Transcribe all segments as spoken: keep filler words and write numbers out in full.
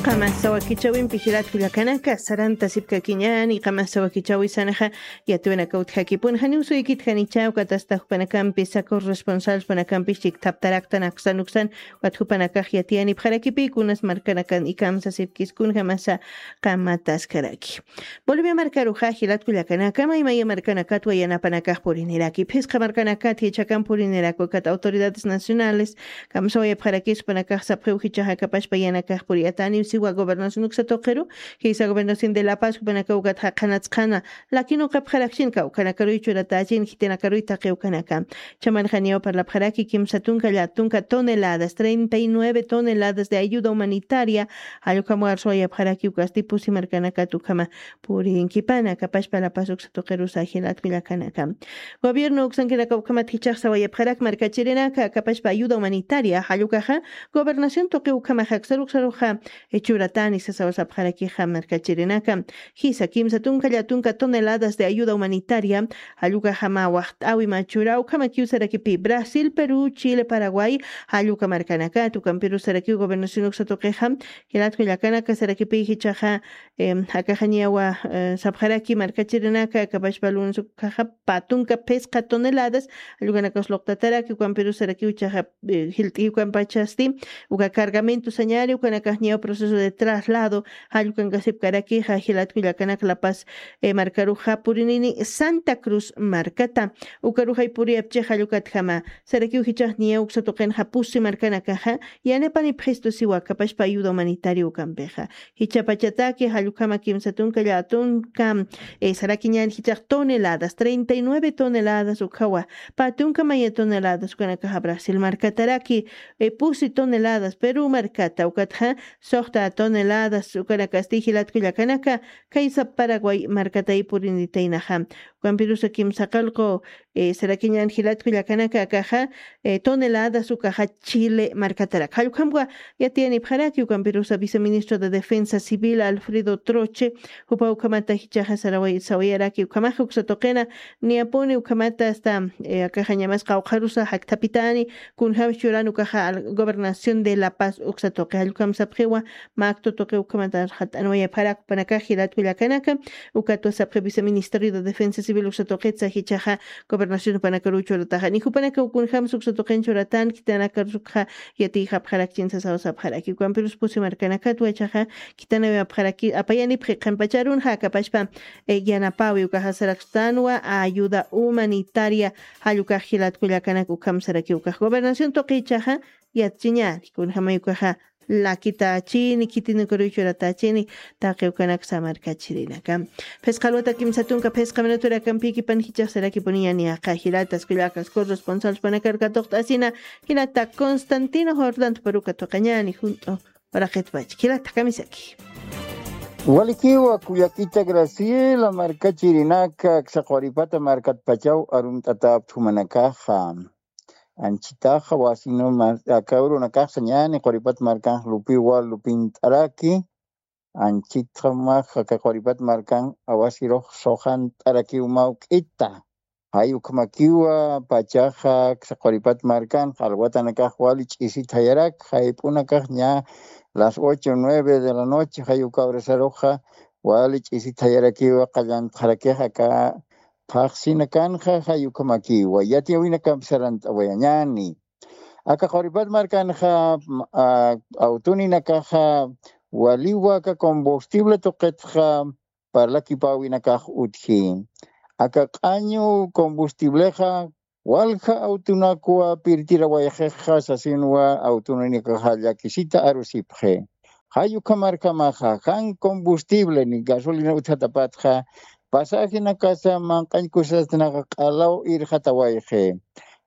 Qamasa wakichawimpi jilat kullakanaka sarantasipkakiñäni. Qamasa wakichawisanaxa yatiwanaka utjakipun janiw suykit janichaw katasta jupanakampi sakur responsables jupanakampis chikthaptaraktan aksan uksan. Wat jupanakax yatiyanipxarakipï kunas markanakan ikamsasipkis kunjamasa qamataskaraki. Bolivia markaruxa jilat kullakanaka maymaya markanakatwa yanapanakax puriniraki phisqa markanakat jichhakan puriniraku kat autoridades nacionales kamsawayapxarakis jupanakax sapxiw jichhaxa kapashpa yanakax puriyataniw siwa gobernación uksa tuqiru jisa gobernación de la paz jupanakaw ukat jaqanatsqana lakin uqapxarakchin kawkanakaruy churatächin khitinakaruy taqi ukanaka. Chamanxaniyaw parlapxaraki kimsa tunka llätunka toneladas treinta y nueve toneladas de ayuda humanitaria jallukam warsuwayapxaraki ukasti pusi markanakat ukhama purinkipana kapashpa la paz uksa tuqirusa jilat kullakanaka. Gobierno uksankinaka ukhamat jichhax sawayapxarak markachirinaka kapashpa ayuda humanitaria jallukaxa gobernación tuqi ukhamaxa aksaruksaruxa churatani sasawasapxarakixa markachirinaka. Jisa kimsa tunka llätunka toneladas de ayuda humanitaria jallukaxama waxt'awi machura ukhamakiw sarakipi brasil perú chile paraguay jalluka markanakat ukampiru sarakiw gobernación uksa tuqixa jilat kullakanaka sarakipi jichhaxa akaxañawa sapxaraki markachirinaka kapashpa lunes ukhaxa patunka phisqa toneladas jallukanakax luqtataraki ukampiru sarakiw jichhaxa jilt'iw ukampachasti uka cargamento sañari ukanakaxñaw proceso de traslado jallukankasipkarakixa jilat kullakanak la paz markaruxa purinini santa cruz markata ukarux jaypuriyapchix jallukatjama sarakiw jichhaxniyaw uksa tuqinxa pusi markanakaxa yanapanipxistu siwa kapashpa ayuda humanitaria ukampixa jichhapachataki jallukhama kimsa tunka llätunka sarakiñan jichhax toneladas treinta y nueve toneladas ukhawa patunka maya toneladas ukanakaxa brasil markataraki pusi toneladas perú markata ukatxa suxta toneladas ukanakasti jilat kullakanaka kaysa paraguay markatay purinitaynaxa ukampirusa kimsa qallqu sarakiñan jilat kullakanaka akaxa toneladas ukaxa chile markatarak jallukhamwa yatiyanipxaraki ukampirusa viceministro de defensa civil alfredo troche jupa ukhamata jichhaxa sawayaraki ukhamaxa uksa tuqina niyapuni ukhamata asta akaxañamas qawqharusa jakthapitani kunjämsa churan ukaxa gobernación de la paz uksa tuqi jallukhamsapxiwa maktu tuqi ukhamata jat'anwayapxarak jupanakax jilat kullakanaka ukatwa sapxi viceministerio de defensa civil uksa tuqitsa jichhaxa gobernación jupanakaruw churataxa ni jupanakaw kunjämsa uksa tuqin churatan khitinakarusukxa yatiyxapxarakchin sasawasapxaraki ukampirus pusi markanakatwa jichhaxa khitinawayapxaraki apayanipxi qhanpacharunxa akapashpa yanapawi ukaxa saraksänwa ayuda humanitaria jallukax jilat kullakanak ukham saraki ukax gobernación tuqi jichhaxa yatchiñani kunjamay ukaxa lakitachini khitinakaruychuratachini taqi ukanak samarkachirinaka phisqa alwata kimsa tunka phisqa minuturakampikipan jichhax sarakipuniñani aqha jilatas kullakas corresponsal panakar katuqt'asina jilata constantino jordanta paruka tuqañani junt'u uraqitpach jilata kamisaki walikiwa kullakita graciela markachirinaka aksa quripata markatpachaw arumt'atäpthumanakaxa anchitaxa wasinuma aka urunakaxsa ñani quripat markanx lupiwa lupint'araki anchitxamax aka quripat markan awasirux suxant'arakiw mawk'ita jay ukhamakiwa pachaxa quripat markan alwatanakax wali ch'isit jayarak jayp'unakax ña las ocho nueve de la noche jay uka horasaruxa wali ch'isit jayarakiwa qallantxarakix aka phaxsinakanxa jay ukhamakiwa yatiyawinakamp sarant'awayañani aka quripat markanxa awtuninakaxa waliwa aka combustible tuqitxa parlakipäwinakax utji aka q'añu combustiblexa walja awtunakwa pirtirawayxixa sasinwa awtuninakaxa llakisita arusipxi jay ukhamarkamaxa jan combustible ni gasolina utjatapatxa pasajinakasa manq'añ kusasatanaxa q'alaw irxatawayxi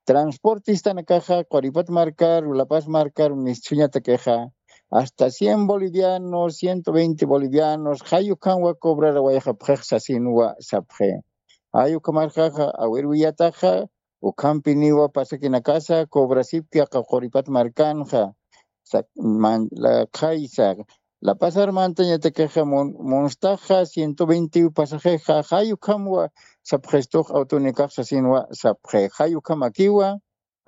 transportistanakaxa quripat markaru lapas markaru mistsuñatakixa hasta cien bolivianos ciento veinte bolivianos jay ukhamwa cobrarawayxapxix sasinwa sapxi jay ukhamarkaxa awirwiyataxa ukhampiniwa pasakinakasa cobrasipki aka quripat markanxa qhaysa lapasar mantañatakixa munstaxa ciento veinte pasajexa jay ukhamwa sapxistux awtunikax sasinwa sapxi jay ukhamakiwa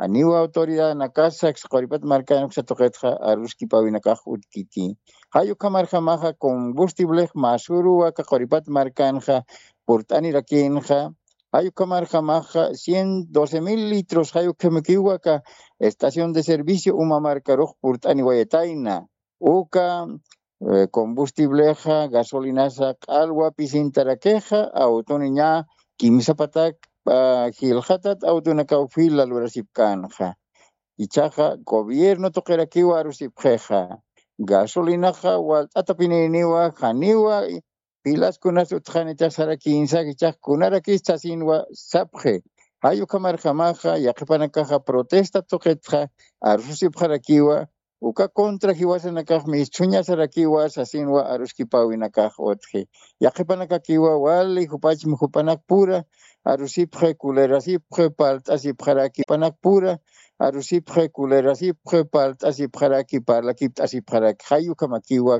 Janiw autoridadnakasa quripat markanxa tuqitxa aruskipawinakax utkiti. Jay ukhamarjamaxa combustiblex masuruwa aka quripat markanxa purt'anirakinxa. Jay ukhamarjamaxa ciento doce mil litros jay ukhamakiwa aka estación de servicio uma markarux purt'aniwayatayna. Uka combustiblexa gasolinasa q'alwa pisintarakixa awtuniña kimsapatak jilxatat awtunakaw fila lurasipkanxa. Ichaxa gobierno tuqirakiwa arusipxixa gasolinaxa walt'atapininiwa janiwa pilaskunas utxanitix sarakinsak ichax kunarakis sasinwa sapxi. Jay ukhamarjamaxa yaqipanakaxa protesta tuqitxa arsusipxarakiwa uka contra jiwasanakax misthuñasarakiwa sasinwa aruskipawinakax utxi. Yaqipanakakiwa wali jupachmi jupanakpura arusipxi kulerasipxi palt'asipxaraki panakpura arusipxi kulerasipxi palt'asipxaraki parlakipt'asipxaraki jay ukhamakiwa.